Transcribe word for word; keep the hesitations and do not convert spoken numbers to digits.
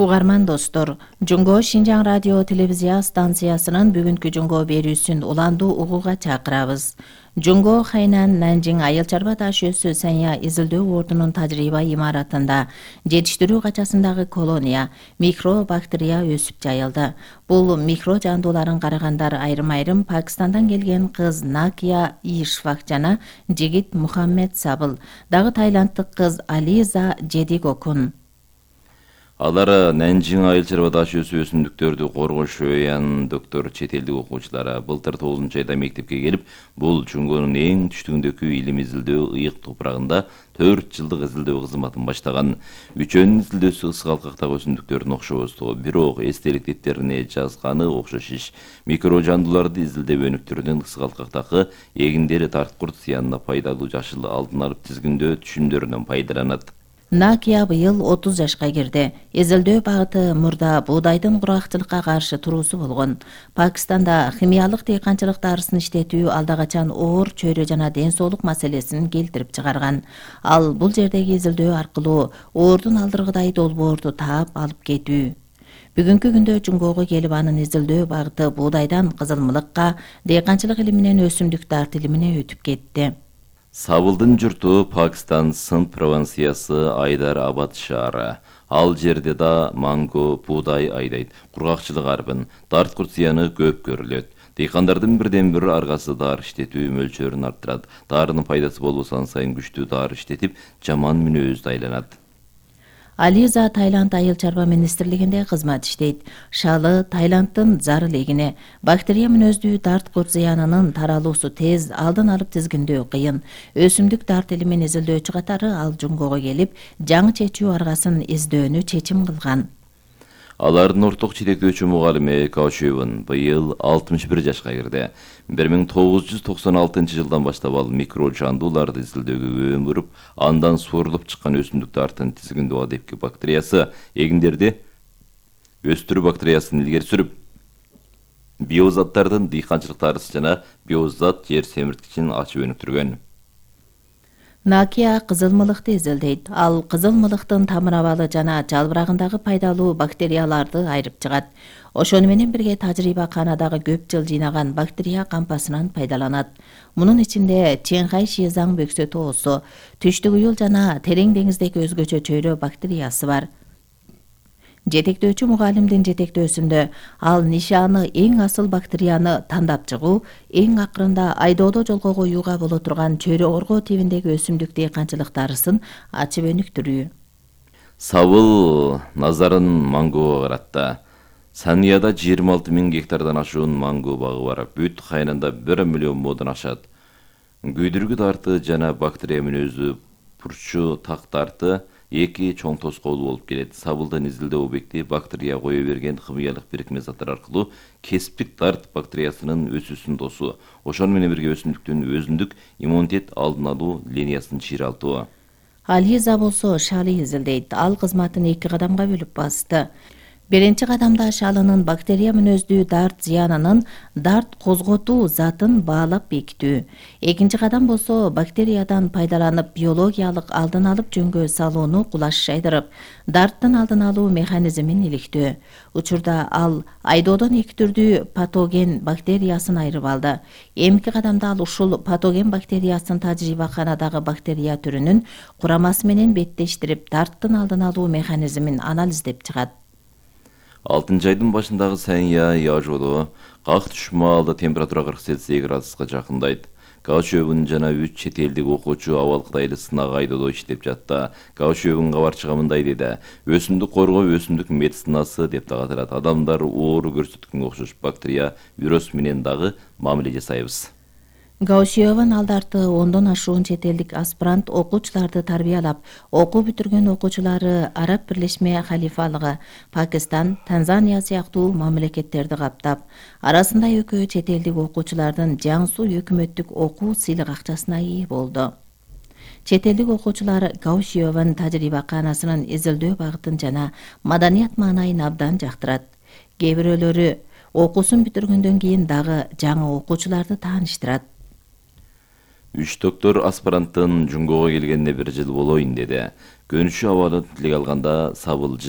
Угарман достор, Жунго Шинжаң радио телевизия станциясынын бүгүнкү Жунго берүүсүн уландуу угууга чакырабыз. Жунго Хайнан Нанжиң айыл чарба таш өсү Сanya изилдөө ордунун тажрыйба имаратында жетиштирүү качасындагы колония микробактерия өсүп жайылды. Бул микро жандууларын карагандар айрым-айрым Пакистандан келген кыз Накия Ишфак жана жигит Мухаммед Сабыл, дагы тайланддык кыз Ализа Жедигокун. Алар Нанжиң айыл чарба таш өсү өсүмдүктөрдү коргош өян доктор чет элдик окуучулары былтыр тогузунчу айда мектепке келип, бул Жунгонун эң түштүгүндөгү илим изилдөө ыйык топурагында төрт жылдык изилдөө кызматын баштаган. Үчөөнүн изилдөөсү ысык алкактагы өсүмдүктөрдүн окшобостугу, бирок эстелик деттерине жазганы окшош иш. Микро жандууларды изилдеп өнүктүрүүнүн ысык алкактагы эгиндери тарткурт зыянына пайдалуу жашыл алдын алып тизгиндөө түшүмдөрүнөн пайдаланат. Накия быйыл отуз жашка кирди. Изилдөө багыты мурда буудайдын кургакчылыкка каршы туруусу болгон. Пакистанда химиялык дыйканчылык дарысын иштетүү алдагачан оор чөйрө жана ден соолук маселесин келтирип чыгарган. Ал бул жердеги изилдөө аркылуу оордун алдыргыдай долбоорду таап алып кетүү. Бүгүнкү күндө Жунгого келип анын изилдөө багыты буудайдан кызылмылыкка, дыйканчылык илиминен өсүмдүк дарт илимине өтүп кетти. Сабылдын журту Пакистан Синд провинциясы Айдар Абад шаары. Ал жерде да манго, буудай айдайт. Кургакчылык арбын, тарткурт зыяны көп көрүлөт. Дыйкандардын бирден бир аргасы дар иштетүү мөлчөрүн арттырат. Дарынын пайдасы болбосо сайын күчтүү дар иштетип, жаман мүнөздү айланат. Ализа Таиланд айыл чарба министрлигинде кызмат иштейт. Шалы Таиланддын зарыл эгине. Бактерия мүнөздүү дарт курт зыянынын таралуусу тез, алдын алып тизгиндөө кыйын. Өсүмдүк дарт илимин изилдөөчү катары ал Жунгого келип, жаңы чечүү аргасын издөөнү чечим кылган. Алардын орток жетектөөчү мугалими Каучевун быйыл алтымыш бир жашка кирди. бир миң тогуз жүз токсон алтынчы жылдан баштап ал микро жандууларды изилдөөгө өөн буруп, андан суурулуп чыккан өсүмдүк дартын тизгиндөө адепки бактериясы, эгиндерди өстүрүү бактериясын илгери сүрүп, биозаттардын дыйканчылык дарысы жана биозат жер семирткичин ачып өнүктүргөн. Накия кызылмылыкты изилдейт. Ал кызылмылыктын тамыр абалы жана жалбырагындагы пайдалуу бактерияларды айырып чыгат. Ошону менен бирге тажрыйбаканадагы көп жыл жыйнаган бактерия кампасынан пайдаланат. Мунун ичинде Ченхай Шизаң бөксө тоосу, түштүк уюл жана терең деңиздеги өзгөчө чөйрө бактериясы бар. Жетектөөчү мугалимдин жетектөөсүндө ал нишаны эң асыл бактерияны тандап чыгуу, эң акырында айдоодо жолго коюуга боло турган чөйрө орго тибиндеги өсүмдүк дыйканчылык дарысын ачып өнүктүрүү. Сабыл назарын мангого каратты. Санияда жыйырма алты миң гектардан ашуун манго багы бар. Бүт Хайнанда бир миллион модон ашат. Күйдүргү дарты жана бактерия мүнөздүү пурчу так дарты эки чоң тоскоолу болуп келет. Сабылдын изилдөө объекти бактерия кое берген химиялык бирикме заттар аркылуу кесиптик дарт бактериясынын өсүүсүн тосуу. Ошону менен бирге өсүмдүктүн өзүндүк иммунитет алдын алуу линиясын чыйралтуу. Ализа болсо шалы изилдейт. Ал кызматын эки кадамга бөлүп басты. Биринчи кадамда шалынын бактерия мүнөздүү дарт зыянынын дарт козготуу затын баалап бекитүү. Экинчи кадам болсо бактериядан пайдаланып биологиялык алдын алып жөнгө салууну кулаш шайдырып, дарттын алдын алуу механизмин иликтөө. Учурда ал айдоодон эки түрдүү патоген бактериясын айырып алды. Эмки кадамда ал ушул патоген бактериясын тажрыйбаканадагы бактерия түрүнүн курамасы менен беттештирип, дарттын алдын алуу механизмин анализдеп чыгат. алтынчы айдын башындагы Сanya яжоодо как түш маалда температура кырк Цельсий градуска жакындайт. Каучевун жана үч чет элдик окуучу абал Кытайлы сынак айдоодо иштеп жатты. Каучевун кабарчыга мындай деди: "Өсүмдүк коргоо өсүмдүк медицинасы деп дагы аталат. Адамдар оору көрсөткөнгө окшош бактерия, вирус менен дагы мамиле жасайбыз." Гаусиеван алдарты ондон ашуун чет элдик аспирант окуучуларды тарбиялап, окуу бүтүргөн окуучулары Араб Бирлешме Халифалыгы, Пакистан, Танзания сыяктуу мамлекеттерди каптап, арасында экөө чет элдик окуучулардын Жаңсу өкмөттүк окуу сыйлык акчасына ээ болду. Чет элдик окуучулар Гаусиеван тажрыйбаканасынын изилдөө багытын жана маданият маанайын абдан жактырат. Кээ бирөөлөрү окуусун бүтүргөндөн кийин дагы жаңы окуучуларды тааныштырат. Үч доктор аспиранттын Жунгого келгенине бир жыл болоюн деди. Көнүшү абадан тилек алганда Сабыл